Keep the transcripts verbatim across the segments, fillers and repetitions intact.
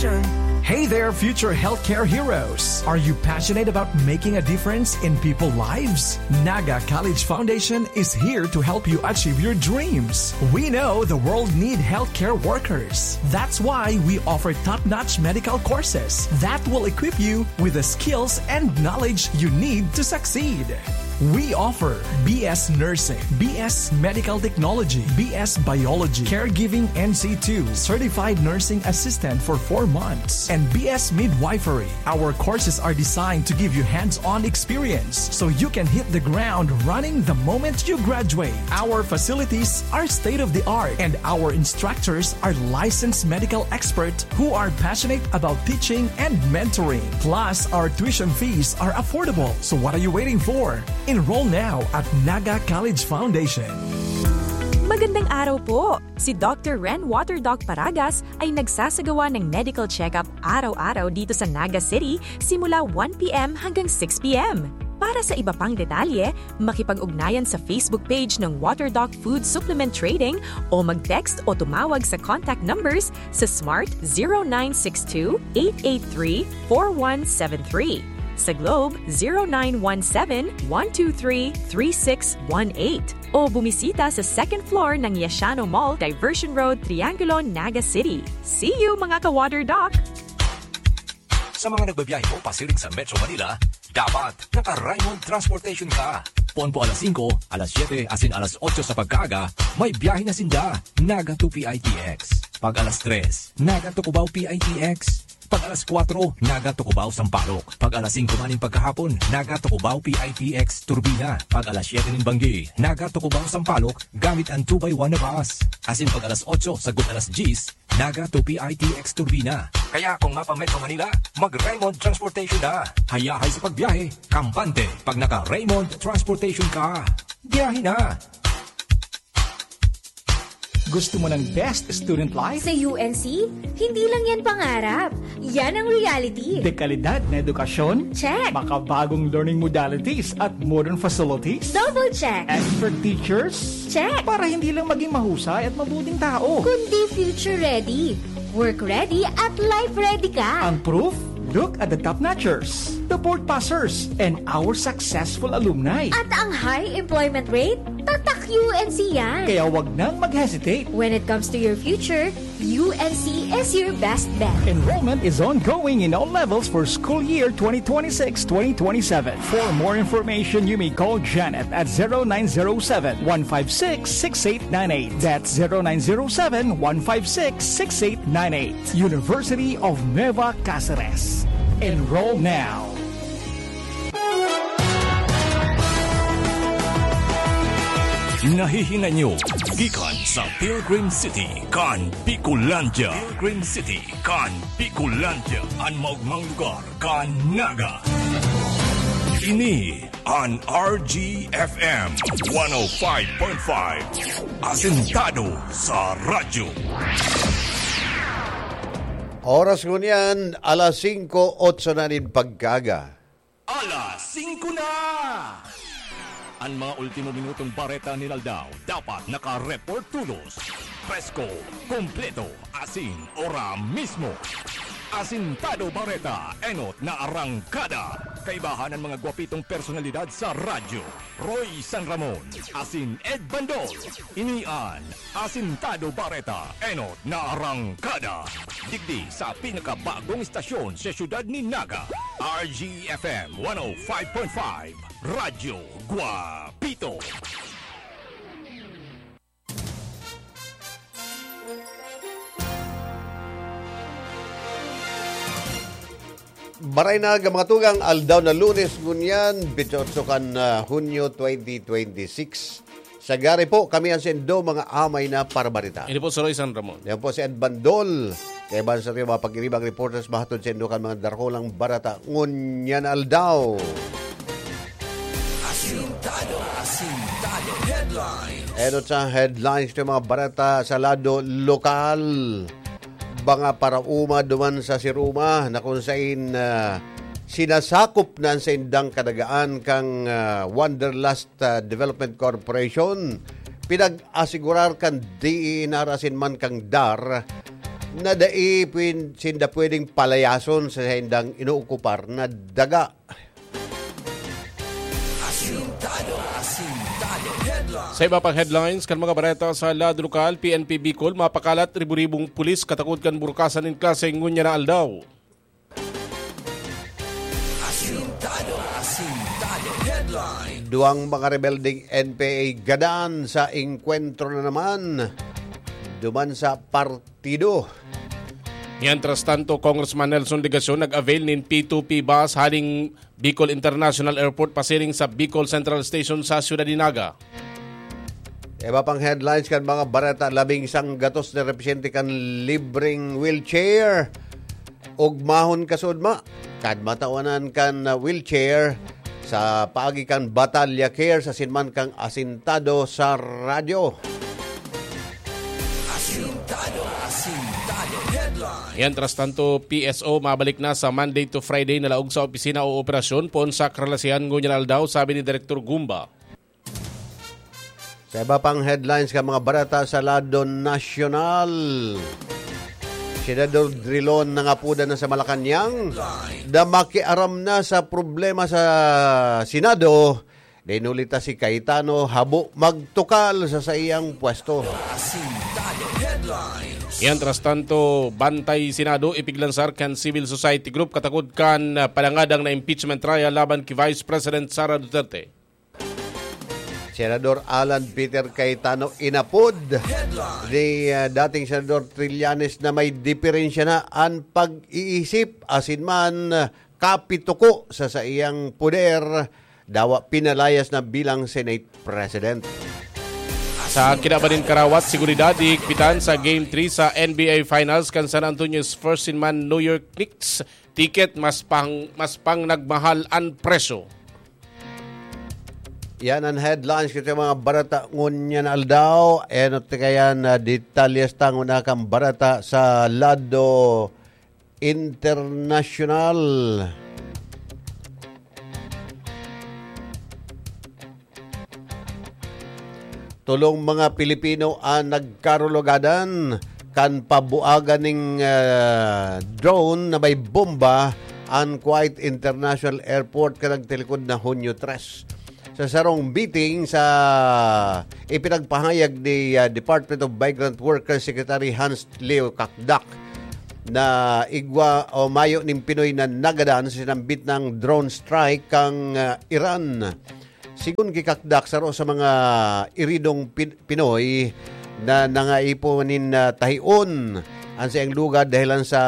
Hey there, future healthcare heroes! Are you passionate about making a difference in people's lives? Naga College Foundation is here to help you achieve your dreams. We know the world need healthcare workers. That's why we offer top-notch medical courses that will equip you with the skills and knowledge you need to succeed. We offer B S Nursing, B S Medical Technology, B S Biology, Caregiving N C two, Certified Nursing Assistant for four months, and B S Midwifery. Our courses are designed to give you hands-on experience so you can hit the ground running the moment you graduate. Our facilities are state-of-the-art, and our instructors are licensed medical experts who are passionate about teaching and mentoring. Plus, our tuition fees are affordable. So what are you waiting for? Enroll now at Naga College Foundation. Magandang araw po! Si Doctor Ren Water Doc Paragas ay nagsasagawa ng medical check-up araw-araw dito sa Naga City simula one p m hanggang six p m. Para sa iba pang detalye, makipag-ugnayan sa Facebook page ng Water Doc Food Supplement Trading o mag-text o tumawag sa contact numbers sa Smart zero nine six two eight eight three four one seven three, sa Globe zero nine one seven one two three three six one eight, o bumisita sa second floor ng Yashano Mall, Diversion Road, Triangulo, Naga City. See you, mga ka-Water Doc! Sa mga nagbabiyahe po pasiring sa Metro Manila, dapat naka-Raymond Transportation ka. Ponpo alas singko, alas siyete, asin alas otso sa pagkaaga, may biyahe na sinda. Naga to P I T X. Pag alas tres, Naga to Cubao P I T X. Pag alas kwatro, Naga to Cubao Sampaloc. Pag alas singko maning pagkahapon, Naga to Cubao P I T X Turbina. Pag alas siyete nin banggi, Naga to Cubao Sampaloc gamit ang two by one na bus. Asin pag alas otso sagkod alas dyes, Naga to P I T X Turbina. Kaya kung mapa-Metro Manila, mag-Raymond Transportation na. Hayahay sa pagbiyahe, kampante pag naka-Raymond Transportation ka. Biyahe na! Gusto mo ng best student life? Sa U N C, hindi lang yan pangarap. Yan ang reality. Dekalidad na edukasyon? Check. Makabagong learning modalities at modern facilities? Double check. Expert teachers? Check. Para hindi lang maging mahusay at mabuting tao. Kundi future ready, work ready, at life ready ka. Ang proof? Look at the top notchers, the board passers, and our successful alumni. At ang high employment rate? Tatak U N C yan. Kaya wag nang mag-hesitate. When it comes to your future, U N C is your best bet. Enrollment is ongoing in all levels for school year twenty twenty-six twenty twenty-seven. For more information, you may call Janet at zero nine zero seven, one five six, six eight nine eight. That's zero nine zero seven, one five six, six eight nine eight. University of Nueva Cáceres. Enroll now. Nahihinay nyo gikan sa Pilgrim City kan Bicolandia. Pilgrim City kan Bicolandia, an maogmang lugar kan Naga. Ini an R G F M one oh five point five. Asentado sa radyo. Oras ngunyan, alas singko, otso na nin pagkaaga. Alas singko na! An mga ultimo minutong bareta nin aldaw dapat naka-report tolos, presko, kompleto, asin ora mismo. Asintado Bareta, enot na arangkada. Kaibahan an mga gwapitong personalidad sa radyo, Roy San Ramon, asin Ed Bandol. Ini an Asintado Bareta, enot na arangkada. Digdi sa pinakabagong istasyon sa siyudad ni Naga, R G F M one oh five point five, Radyo Guapito. Maray na, mga tugang, aldaw na Lunes ngunyan, bintotso kan, ah, Hunyo twenty twenty-six. Sa gari po, kami ang sendo, mga amay na parabarita. Ini po si Roy San Ramon. Yan po si Ed Bandol. Kaibahan sa ating mga pag-iribang reporters, mahatod sendo kan mga darakulang barata ngunyan aldaw. Asintado, asintado. Headlines. Enot sa headlines ng mga barata sa lado lokal. Mga paraoma duman sa Siruma na kung sain, ah, sinasakop na ang saindang kadagaan kang, ah, Wanderlust, ah, Development Corporation. Pinag-asigurar kan D E N R asin man kang DAR na dai pwin-, sinda pwedeng palayason sa saindang inookupar na daga. Asintado, Asintado Headlines. Sa iba pang headlines kan mga bareta sa lado lokal, P N P Bicol mapakalat ribu-ribong pulis katakod kan burukasan nin klase ngunyan na aldaw. Asintado, Asintado Headlines. Duwang mga rebeldeng N P A gadan sa engkwentro na naman duman sa partido. Mientras tanto, Congressman Nelson Legacion nag-avail nin P two P bus haling Bicol International Airport pasiring sa Bicol Central Station sa Ciudad de Naga. Iba pang headlines kan mga bareta, labing sanggatos na represente kan libreng wheelchair. Ugmahon kasudma, kan matawanan kan, ah, wheelchair sa paagi kan Batalya Care sa sinman kang asintado sa radyo. Asintado, Asintado Headlines. Mientras tanto, P S O mabalik na sa Monday to Friday na laog sa opisina o operasyon poon sa Kralasian ngunyan aldaw, sabi ni Direktor Gumba. Sa iba pang headlines kan mga bareta sa lado nasyonal, Senador Drilon nangapodan na sa Malacañang na makiaram na sa problema sa Senado. Dinulita si Cayetano, habo magtukal sa saiyang pwesto. Asintado Headlines. Mientras tanto, Bantay Senado ipiglansar kan civil society group katakod kan palangadang na impeachment trial laban ki Vice President Sara Duterte. Senador Alan Peter Cayetano inapod ni, ah, dating Senador Trillanes na may diferensya na an pag-iisip asin man, ah, kapituko sa saiyang poder, dawa pinalayas na bilang Senate President. Sa kinaban nin karawat, seguridad, hihigpitan sa Game three sa N B A Finals kan San Antonio Spurs sin man New York Knicks. Ticket, mas pang-, mas pang nagmahal an presyo. Yan ang headlines kan mga bareta ngunyan aldaw. Enot kaya na detalyes ta nguna kan bareta sa lado internasyonal. Tolong mga Pilipino an nagkarulugadan kan pabuagan ning, ah, drone na may bomba an Kuwait International Airport kan nagtalikod na Hunyo tres. Sa sarong meeting sa ipinagpahayag ni, ah, Department of Migrant Workers Secretary Hans Leo Kakdak na igwa o mayo ning Pinoy na nagadan sa sinambit na drone strike kan, ah, Iran. Sigon ki Kakdak, saro sa mga iridong Pin-, Pinoy na nangaipon nin, ah, tahion an saiyang lugad dahilan sa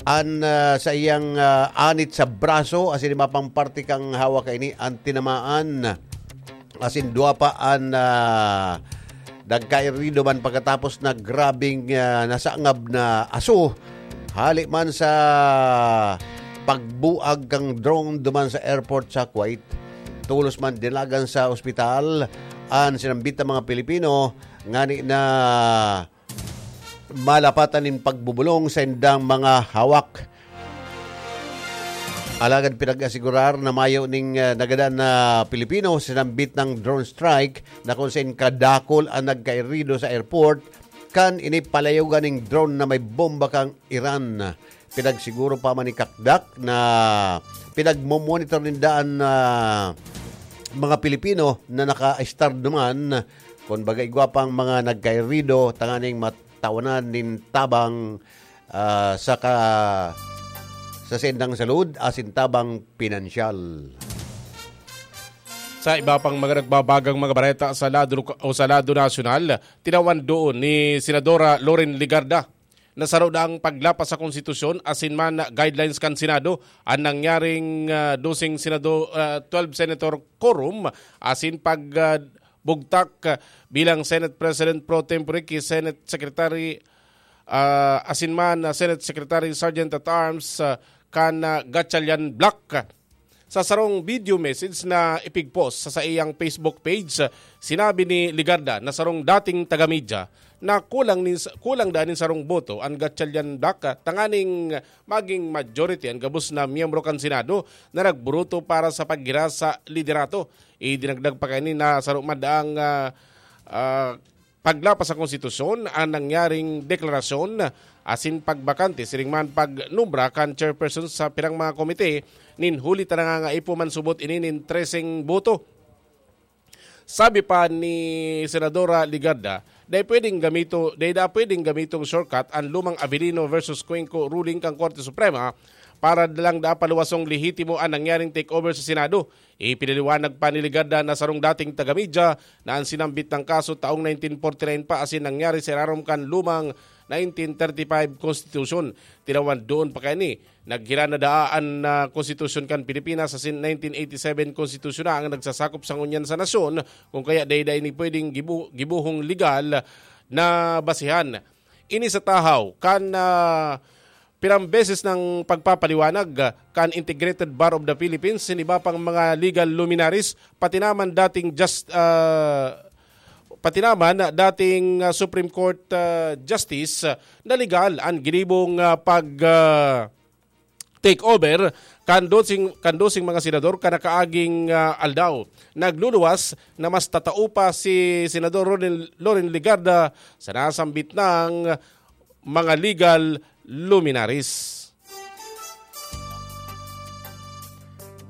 an, ah, saiyang, ah, anit sa braso asin iba pang parte kan hawak kaini an tinamaan asin dua pa an, ah, nagkairido man pagkatapos na grabeng, ah, nasangab na aso hali man sa pagbuag kan drone duman sa airport sa Kuwait. Tolos man dinagan sa ospital an sinambit na mga Pilipino ngani na malapatan nin pagbubulong sa indang mga hawak. Alagad pinag-asigurar na mayo ning, ah, nagadan na Pilipino sinambit na drone strike na kung sain kadakul an nagkairido sa airport kan ini palayogan ning drone na may bomba kan Iran. Pinagsiguro pa man ni Kakdak na pinagmo-monitor ninda an, ah, mga Pilipino na naka-estar duman. Kun baga, igwa pang mga nagkairido tanganing matawanan nin tabang, ah, sa ka-, sa saindang salud asin tabang pinansyal. Sa iba pang mga nagbabagang mga bareta sa lado loka-, o sa lado nasyonal, tinawan doon ni Senadora Loren Legarda na saro na ang paglapas sa konstitusyon asin man guidelines kan Senado an nangyaring, ah, doseng Senado, ah, twelve senator quorum asin pag, ah, bugtak, ah, bilang Senate President pro tempore ki Senate Secretary, ah, asin man, ah, Senate Secretary Sergeant at Arms, ah, kan, ah, Gatchalian Block. Sa sarong video message na ipigpost sa saiyang Facebook page, sinabi ni Legarda na sarong dating taga-media na kulang nin, kulang daa nin sarong boto an Gatchalian Block, tanganing maging majority an gabos na miyembro kan Senado na nagburuto para sa paggira sa liderato. Idinagdag pa kaini na saro man daang, ah, ah, paglapas sa konstitusyon an nangyaring deklarasyon asin pagbakante siring man pagnumbra kan chairperson sa pirang mga komite nin huli ta nangangaipo man subot ini nin treseng boto. Sabi pa ni Senadora Legarda, dai pwedeng gamito, dai da pwedeng gamitong shortcut an lumang Avelino versus Cuenco ruling kan Korte Suprema para lang da paluwasong lehitimo an nangyaring takeover sa Senado. Ipinaliwanag pa ni Legarda na sarong dating taga-media na an sinambit nang kaso taong nineteen forty-nine pa asin nangyari sa irarom kan lumang nineteen thirty-five Constitution. Tinawan doon pa kaini, naghiran na daa an ah, Konstitusyon kan Pilipinas asin nineteen eighty-seven Konstitusyon na ang nagsasakop sa ngunyan sa nasyon, kung kaya dai-dai ini pwedeng gibu- gibuhong legal na basihan. Ini sa tahaw kan ah, pirang beses ng pagpapaliwanag ah, kan Integrated Bar of the Philippines, sin iba pang mga legal luminaries, pati naman dating just, ah, pati naman dating ah, Supreme Court ah, Justice ah, na legal an ginibong ah, pag ah, take over kan dosing, kan dosing mga senador kan nakaaging ah, aldaw. Nagluluwas na mas tatao pa si Senador Loren, Loren Legarda sa nasambit ng mga legal luminaries.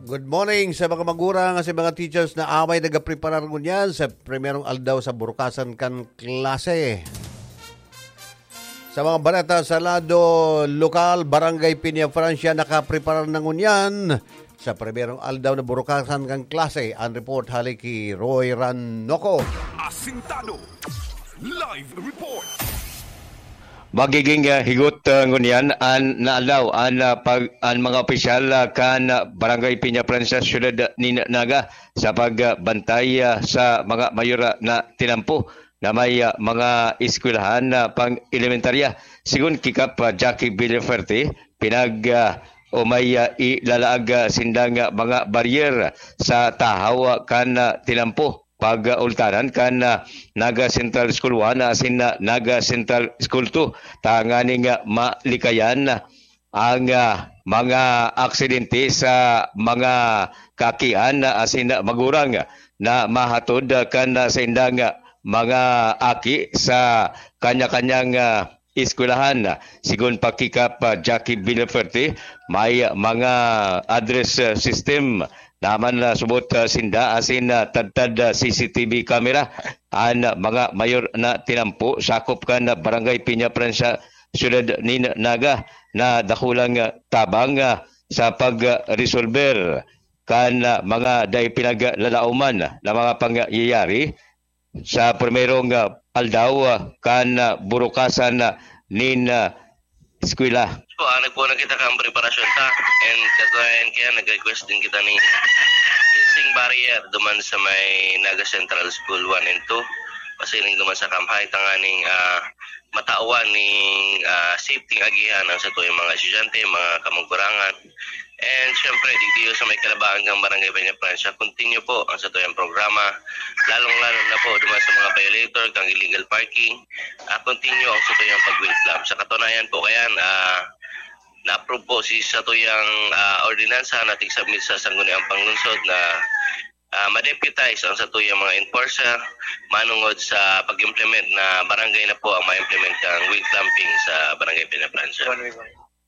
Good morning sa mga magurang, sa mga teachers na amay nagapreparar ngunyan sa primerong aldaw sa burukasan kan klase. Sa mga bareta sa lado lokal, Barangay Peña Francia nakapreparar na ngunyan sa primerong aldaw na burukasan kan klase. Ang report hali ki Roy Ranoco. Asintado. Live report. Magiging ah, higot ah, ngunyan an naalaw an ah, pag an mga opisyal ah, kan ah, Barangay Peña Francia, Siyudad nin Naga sa pagbantay ah, sa mga mayor ah, na tinampo na may ah, mga eskwelahan na pang-elementarya. Sigon ki Kap ah, Jackie Villaferte, pinag ah, o may ah, ilalaag ah, sindang ah, mga baryer sa tahaw ah, kan ah, tinampo pag-ultanan kan ah, Naga Central School one asin ah, Naga Central School two tanganing ah, malikayan ang ah, mga aksidente sa mga kakian asin magurang na mahatod kan ah, saindang ah, mga aki sa kanya-kanyang ah, eskwelahan. Sigon pa ki Kap ah, Jackie Villaferte, may mga address ah, system naman na subot ah, sinda asin ah, tadtad ah, C C T V camera an mga mayor na tinampo sakop kan Barangay Peña Francia, Siyudad nin Naga, na dakulang ah, tabang ah, sa pagresolber kan ah, mga dai pinaglalauman na mga pangyayari sa primerong ah, aldaw ah, kan ah, burukasan ah, nin ah, eskwela. Po, ah, nagpunan kita kang preparasyon ta. And katunayan kaya nag-request din kita ni fencing barrier duman sa may Naga Central School one and two. Pasiring duman sa Kamhay, tanganing ah, matawan ning ah, safety agihan ang satuyang mga estudyante, mga kamagkurangan. And syempre, digdiyo sa may kalabaan kang Barangay Peña Francia, continue po ang satuyang programa, lalong-lalo na po duman sa mga violator kang illegal parking. Ah, continue ang satuyang pag-wheel clamp. Sa katunayan po kayan, ah, na-approve po si satuyang ah, ordinansa na tigsubmit sa Sangguniang Panglungsod na ah, ma-deputize ang satuyang mga enforcer manungod sa pag-implement na barangay na po ang ma-implement kang wheel clamping sa Barangay Peña Francia.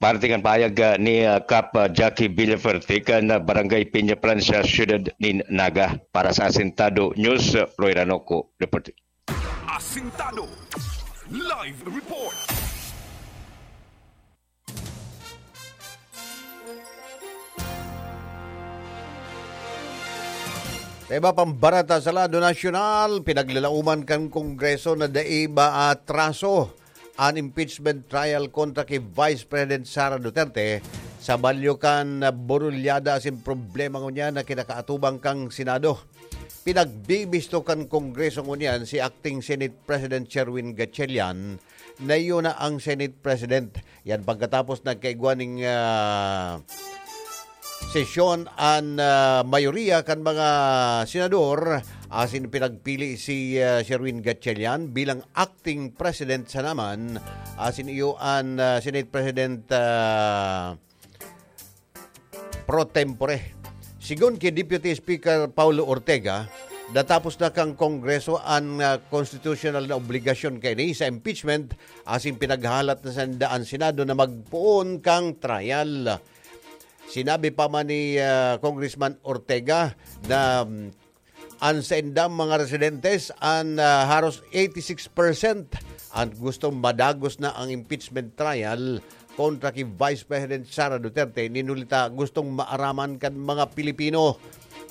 Parte kan pahayag ah, ni ah, Kap ah, Jackie Villaferte kan ah, Barangay Peña Francia, Siyudad nin Naga. Para sa Asintado News, ah, Roy Ranoco, reporting. Asintado. Live report. Sa iba pang bareta sa lado nasyonal, pinaglalauman kan Kongreso na dai ba atraso an impeachment trial kontra ki Vice President Sara Duterte sa balyo kan burulyada asin problema ngunyan na kinakaatubang kan Senado. Pinagbibisto kan Kongreso ngunyan si Acting Senate President Sherwin Gatchalian na iyo na ang Senate President. Yan pagkatapos nagkaigwa ning ah, sesyon an ah, mayoriya kan mga senador asin pinagpili si ah, Sherwin Gatchalian bilang acting president sa naman asin iyo an ah, Senate President ah, pro tempore. Sigon ki Deputy Speaker Paulo Ortega, Natapos na kan Kongreso an, ah, konstitusyonal na obligasyon kaini sa impeachment, asin pinaghahalat na sa an Senado na magpoon kan trial. Sinabi pa man ni, ah, Congressman Ortega na, mm, an saindang mga residentes an, ah, haros eighty-six percent an gustong madagos na ang impeachment trial kontra ki Vice President Sara Duterte, nin huli ta gustong maaraman kan mga Pilipino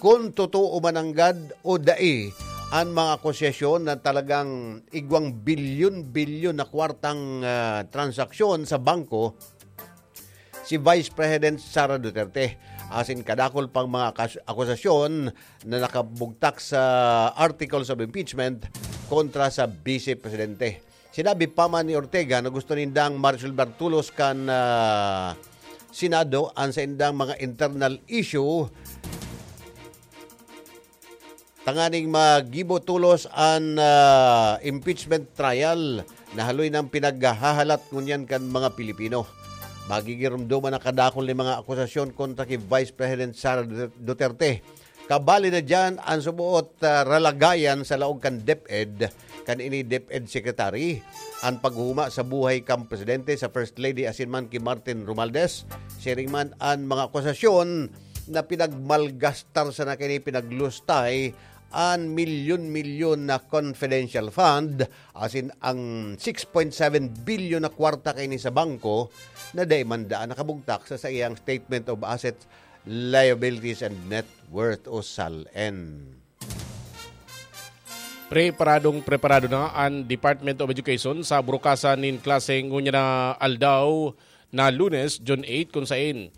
kun totoo man nanggad o dai an mga akusasyon na talagang igwang bilyon-bilyon na kwartang, ah, transaksyon sa bangko si Vice President Sara Duterte, asin kadakul pang mga akas-, akusasyon na nakabugtak sa articles of impeachment kontra sa Vice Presidente. Sinabi pa man ni Ortega na gusto nindang maresolbar tolos kan, ah, Senado an saindang mga internal issue tanganing magibo tolos an, ah, impeachment trial na haloy nang pinaghahalat ngunyan kan mga Pilipino. Magigiromdoman na kadakul ni mga akusasyon kontra ki Vice President Sara Duterte. Kabali na diyan an suboot, ah, ralagayan sa laog kan DepEd, kan ini DepEd Secretary, an paghuma sa buhay kan presidente, sa First Lady asin man ki Martin Romualdez. Siring man an mga akusasyon na pinagmalgastar sana kini, pinaglustay an milyon-milyon na confidential fund, asin ang six point seven billion na kwarta kaini sa bangko na dai man daan nakabugtak sa saiyang Statement of Assets, Liabilities and Net Worth o SALN. Preparadong preparado na an Department of Education sa burukasan nin klase ngunyan na aldaw na Lunes, June eight, kun saen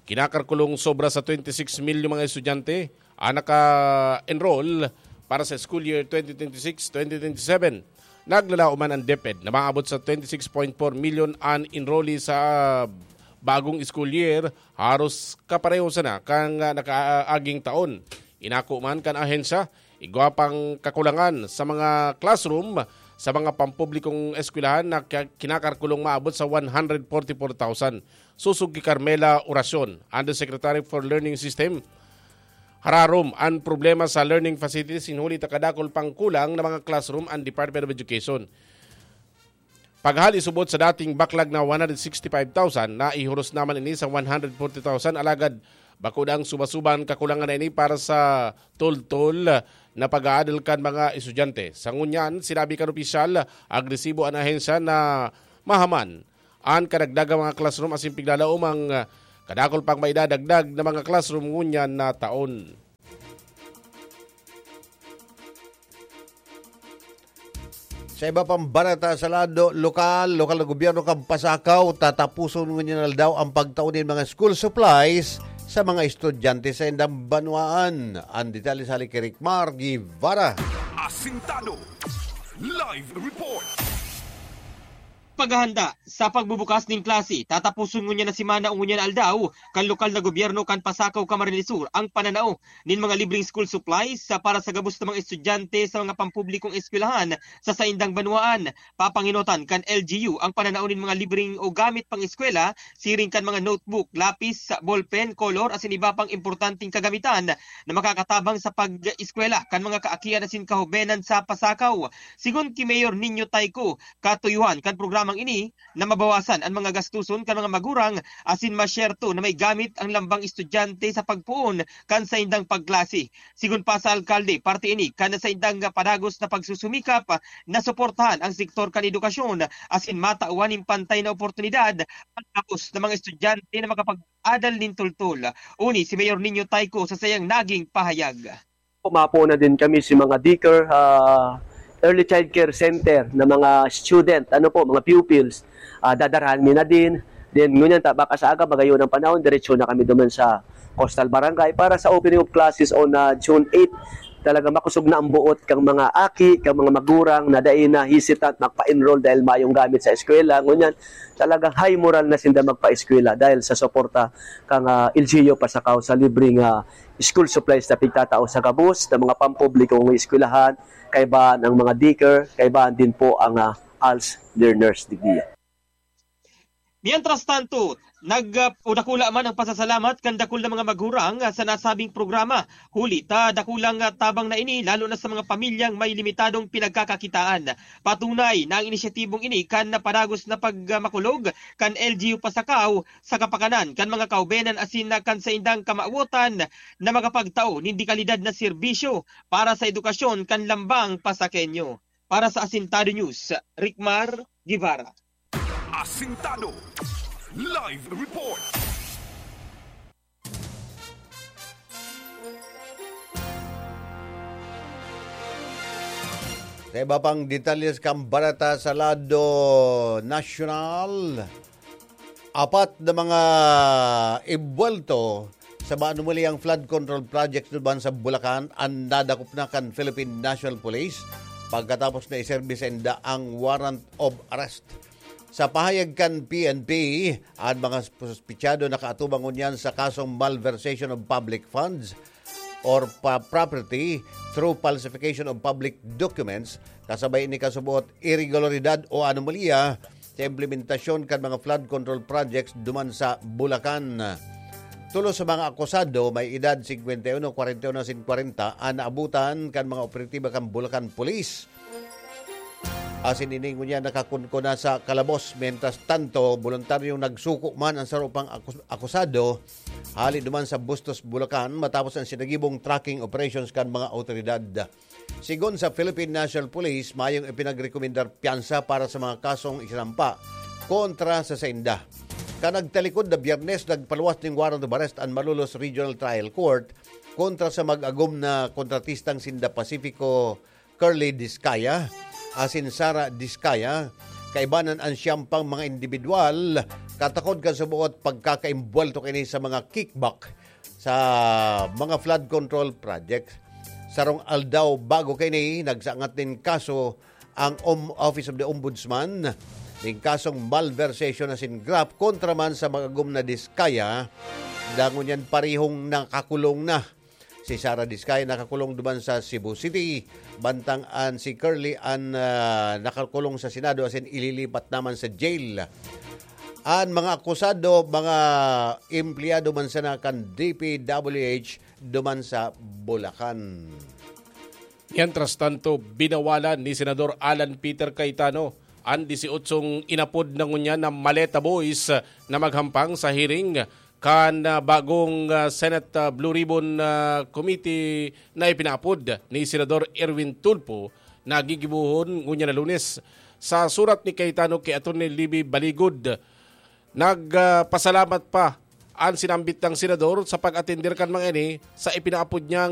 kinakalkulong sobra sa twenty-six mil yung mga estudyante ang naka-enroll para sa school year twenty twenty-six twenty twenty-seven. Naglalaom man ang DepEd na maabot sa twenty-six point four million an enrollee sa bagong school year, haros kapareho sana kan nakaaging taon. Inako man kan ahensya, igwa pang kakulangan sa mga classroom sa mga pampublikong eskwelahan na kya-, kinakalkulong maabot sa one hundred forty-four thousand. Sosog ki Carmela Oracion, Undersecretary for Learning System, hararom an problema sa learning facilities, nin huli ta kadakul pang kulang na mga classroom an Department of Education. Paghali subot sa dating baklag na one hundred sixty-five thousand, naihuros naman ini sa one hundred forty thousand, alagad bako dang suba-suba an kakulangan na ini para sa tultol na pag-aadal kan mga estudyante. Sa ngunyan, sinabi kan opisyal, agresibo an ahensya na mahaman an kadagdagang mga classroom asin piglalaom ang, ah, kadakul pang maidadagdag na mga classroom ngunyan na taon. Sa iba pang balita sa lado lokal, lokal na gobyerno kan Pasacao, tatapuson ngunyan na aldaw ang pagtao nin mga school supplies sa mga estudyante sa indang banwaan. Ang detalye sa hali ki Rick Mar Guevara. Asintado. Live report. Paghahanda sa pagbubukas nin klase, tataposon ngunyan na semana o ngunyan na aldaw kan lokal na gobyerno kan Pasacao, Camarines Sur, ang pananao nin mga libreng school supplies sa, para sa gabos na mga estudyante sa mga pampublikong eskwelahan sa saindang banwaan. Papangenotan kan L G U ang pananao nin mga libreng o gamit pang-eskwela, siring kan mga notebook, lapis, ballpen, kolor, asin iba pang importanteng kagamitan na makakatabang sa pag-eskwela kan mga kaakian asin kahobenan sa Pasacao. Sigon ki Mayor Nino Tayco, katuyuhan kan programang ini na mabawasan an mga gastuson kan mga magurang asin masyerto na may gamit ang lambang estudyante sa pagpoon kan saindang pagklase. Sigon pa sa alkalde, parte ini kan saindang padagos na pagsusumikap na suportahan ang sektor kan edukasyon asin matawan nin pantay na oportunidad ang gabos na mga estudyante na makapag-adal nin tultol. Uni si Mayor Nino Tayco sa saiyang naging pahayag. Mapo na din kami si mga daycare, ah, early child care center na mga student, ano po, mga pupils. Ah, dadarahan mi na din. Then, ngunyan ta, baka sa aga, magayon ang panahon, diretso na kami duman sa Coastal Barangay para sa opening of classes on, ah, June eight. Talaga makosog na ang buot kang mga aki, kang mga magurang na dai na hesitant magpa-enroll dahil mayong gamit sa eskwela. Ngunyan, talagang high moral na sinda magpa-eskwela dahil sa suporta kang, ah, L G U Pasacao sa libreng, ah, school supplies na pigtatao sa gabos na mga pampublikong eskwelahan, kaibahan ang mga daycare, kaibahan din po ang, ah, ALS learners digdiya. Mientras tanto, nag, ah, o dakula man ang pasasalamat kan dakul na mga maghurang, ah, sa nasabing programa. Huli ta dakulang, ah, tabang na ini, lalo na sa mga pamilyang may limitadong pinagkakakitaan. Patunay na ang inisyatibong ini kan napadagos na pagmakulog kan L G U Pasacao sa kapakanan kan mga kaubenan asin na kan saindang kamawotan na makapagtao nin dekalidad na serbisyo para sa edukasyon kan lambang Pasakenyo. Para sa Asintado News, Rickmar Guevara. Asintado. Live report. Sa iba pang detalye sa kambarata sa lado nasyonal, apat na mga imbuwelto sa maanumuliyang flood control project duman sa Bulacan an nadakop na kan Philippine National Police pagkatapos na iserbi sainda ang warrant of arrest. Sa pahayag kan P N P, an mga suspitsado nakaatubang ngunyan sa kasong malversation of public funds or pa-, property through falsification of public documents, kasabay ni kasuboot irregularidad o anomalya sa implementasyon kan mga flood control projects duman sa Bulacan. Tulo sa mga akusado, may edad singkwenta y uno, kwarenta y uno asin kwarenta, an naabutan kan mga operatiba kan Bulacan Police. Asin ini ngunyan nakakunko na sa kalabos. Mientras tanto, boluntaryong nagsuko man ang saro pang akus-, akusado hali duman sa Bustos, Bulacan, matapos ang sinagibong tracking operations kan mga awtoridad. Sigon sa Philippine National Police, mayong ipinagrekomendar piyansa para sa mga kasong isinampa kontra sa sainda. Kan nagtalikod na Biyernes, nagpaluwas ning warrant of arrest an Malolos Regional Trial Court kontra sa mag-agom na kontratistang sinda Pacifico Curly Discaya asin Sara Discaya, kaibanan an siyam pang mga indibidwal, katakod kan suboot pagkakaimbwelto kaini sa mga kickback sa mga flood control project. Sarong aldaw bago kaini, nagsangat nin kaso ang Om-, Office of the Ombudsman nin kasong malversation asin graft kontra man sa mag-agom na Discaya, dangon yan parehong nakakulong na. Si Sara Discaya nakakulong duman sa Cebu City, bantang an si Curly an, ah, nakakulong sa Senado asin ililipat naman sa jail. An mga akusado, mga empleyado man sana kan D P W H duman sa Bulacan. Mientras tanto, binawalan ni Senador Alan Peter Cayetano an disyotsyong inapod na ngunyan na Maleta Boys na maghampang sa hearing kan, ah, bagong, ah, Senate, ah, Blue Ribbon, ah, Committee na ipinaapod ni Senador Erwin Tulfo na gigibohon ngunyan na Lunes. Sa surat ni Cayetano ki Attorney Libby Baligod, nag, ah, pasalamat pa an sinambit niyang senador sa pag-atender kan mga ini sa ipinaapod niyang